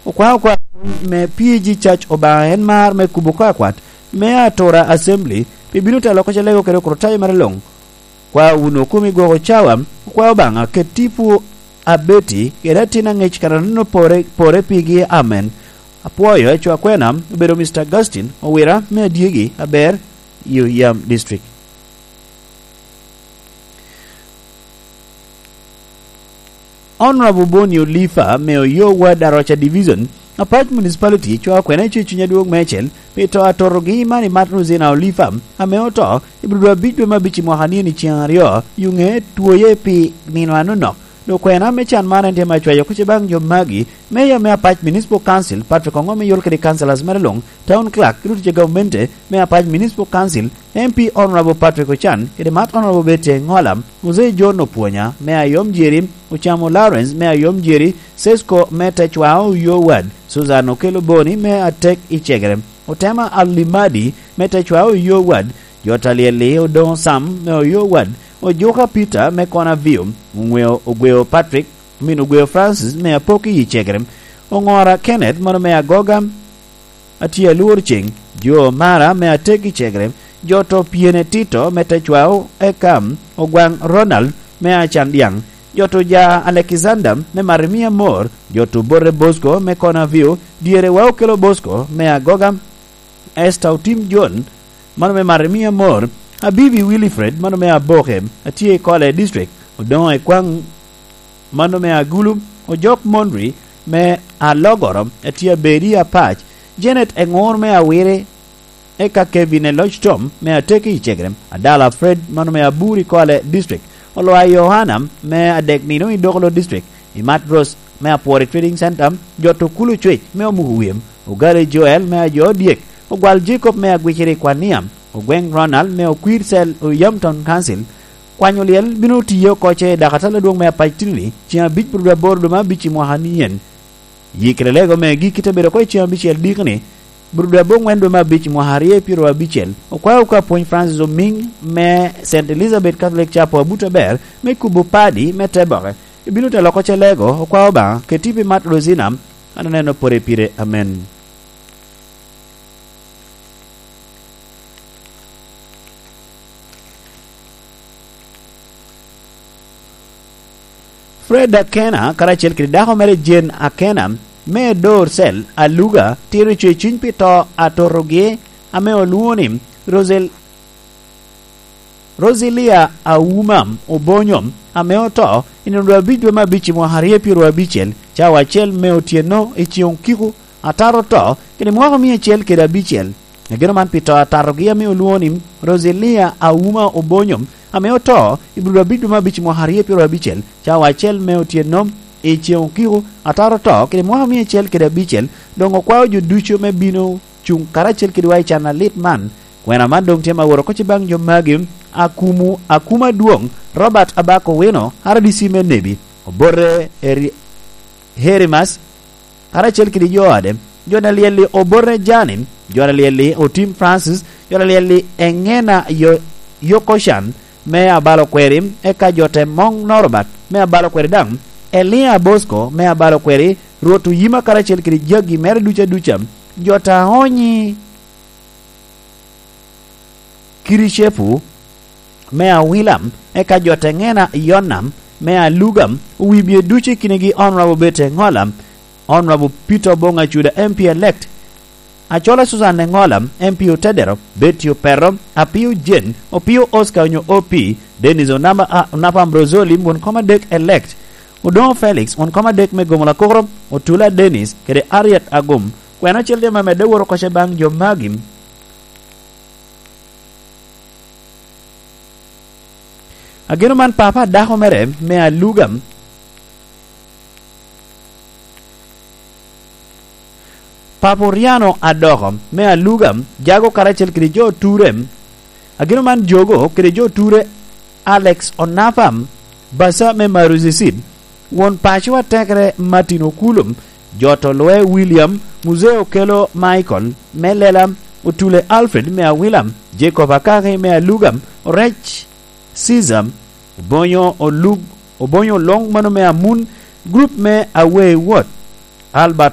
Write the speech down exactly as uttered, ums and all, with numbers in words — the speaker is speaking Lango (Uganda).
Okwao kwa me P G Church Obaŋa en mar me kubo kwakwat me Atura Assembly pi bino telo oko Calego kede Okrutayo mere luŋ. Kwa wunu kumi gwoko cawa, okwao Obaŋa ket tipo abeti kede atin aŋec kara nino pore, pore pigi. Amen. Apwoyo ecwa kwena obedo Mister Augustine Owira me Adyegi aber, Yuyam District. Honorable Boni Olifa me Oyo Ward Aroca Division, Apac Municipality, cwao kwena i cuny adwoŋ meicel pi to atorogi man i Martin Rosina Olifa ame oto i Budwa abic dwe me abic i mwaka ni eni ceŋ aryo, yuŋe twoye pi nino anonok. Dok kwena me can man en tye me acwayo kuc baŋ jo magi, Mayor me Apac Municipal Council, Patrick Ongom, me yol kede councillors mere luŋ, Town Clerk, ki rutice gamente me Apac Municipal Council, M P Honorable Patrick Ochan, kede Mat Honorable Betty Engola, Mzee John Opwonya me Ayom Jeri, Ocamo Lawrence me Ayom Jeri, Sesko me Techwao Oyo Ward, Susan Okello Boni me Atek i Cegere, Otema Alimadi me Techwao Oyo Ward, Jota Lyelli Odoŋo Sam me Oyo Ward, Ojuka Peter me Kona View, Oŋweo Ogweo Patrick, Omin Ogweo Francis me Apoki i Cegere, Oŋora Kenneth mano me Agoga, Atye Alwor Ceŋ, Jo Mara me Atek i Cegere, Joto Pyene Tito me Techwao, eka Ogwaŋ Ronald me Acan Dyaŋ, Joto Ja Alekizanda me Marimia Mor, Joto Bote Bosco me Kona View, Dyere wa Okelo Bosco me Agoga, Esther Otim John, mano me Marimia Mor, Abibi Wilfred, mano me Aboke, atye i Kole District, Odoŋo Ekwaŋ, mano me Agulu, Ojok Mondri, me Alogoro, atye Abedi Apac, Janet Eŋor me Awiri, eka Kevin Eloc Tom, me Ateki i Cegere, Adala Fred, mano me Aburi Kole District, Olwa Yohana, me Adek Nino i Dokolo District, Imat Rose, me Apwori Trading Center, Joto Kulu Cwec, me Omuku Wiyem, Ogale Joel me Ajo Dyek, Ogwal Jacob me Agwiciri Kwania, Ogweng Ronald me Okwir Cell Oyam Town Council, kwanyo lyel bino tiye oko ce i dakatal adwoŋ me Apac Trinity, ceŋ abic pwodo aboro dwe me abic i mwaka ni en. Yikere lego megi kite bedo oko i ceŋ abicel dikni, pwodo abongwen dwe me abic i mwaka aryo i pyero abicel. Okwao ka Pwony Francis Omiŋ me Saint Elizabeth Catholic Chapel Abuto Aber me kubo padi me te boke. Ibino telo oko ce lego, okwao Obaŋa, keti pi Mat Rosina, an aneno pore pire. Amen. Fred Akena karacel kede dako mere Jane Akena me Dor Cell Aluga tito ceciny pi to atotogi ame olwoŋo ni Rosel-, Rosilia Auma Obonyo, ame oto i nino dwe abic dwe me abic i mwaka aryo pyero abicel, cawa acel me otyeno i ceŋ okiko, atato to, kede mwaka mia acel kede abicel. Ageno man pi to atatogi ame olwoŋo ni Rosilia Auma Obonyo, ame oto i Budwa abic dwe me abic i mwaka aryo pyero abicel, cawa acel me otyeno i ceŋ okiko, atato to, kede mwaka mia acel kede abicel, doŋ okwao jo ducu me bino cuŋ karacel kedwa i can alit man. Kwena man doŋ tye ma woro oko ce baŋ jo magi, Akumu, Akuma Adwoŋ, Robert Abak Owino, R D C me Nebi, Obote Eri-, Herimas, karacel kede jo ode, jo a lyel-li Obote Jani, jo a lyel-li Otim Francis, jo a lyel-li Eŋena Yo-, Yokoshan me Abalo Kweri, eka jo te Moŋ Norbert me Abalo Kweri daŋ, Elia Bosco me Abalo Kweri, Rwot Oyima karacel kede jagi mere ducu aduca, jo ta onyi Kiricepu me Awilam, eka jo te Ŋena Yonam me Alugam, owibie ducu i kinegi Honorable Bete Ŋola, Honorable Peter Oboŋ Acuda, M P elect, Acola Susan Eŋola, M P Otedero, Betty Opero, Apio Jane, Opio Oscar onyo O P, Dennis Onama-, a-, Onapa Ambrosoli, won kom adek elect, Odoŋo Felix, won kom adek me Gomola Kokoro, Otula Dennis, kede Harriet Agum. Kwena acel tye ma medde woro oko ce baŋ jo magi. Ageno man papa a dako mere me Aluga, Papa Oriano Adoko me Aluga, Jago karacel kede jo Ture. Ageno man Jogo kede jo Ture, Alex Onapa, Basa me Maruzisid, won paco atekere Martin Okulu, Joto Lwe William, Muzee Okelo Michael me Lela, Otule Alfred me Awila, Jacob Akaki me Aluga, Orec Caesar, Obonyo Olug-, Obonyo Olong mano me Amun, group me Away Wot, Albert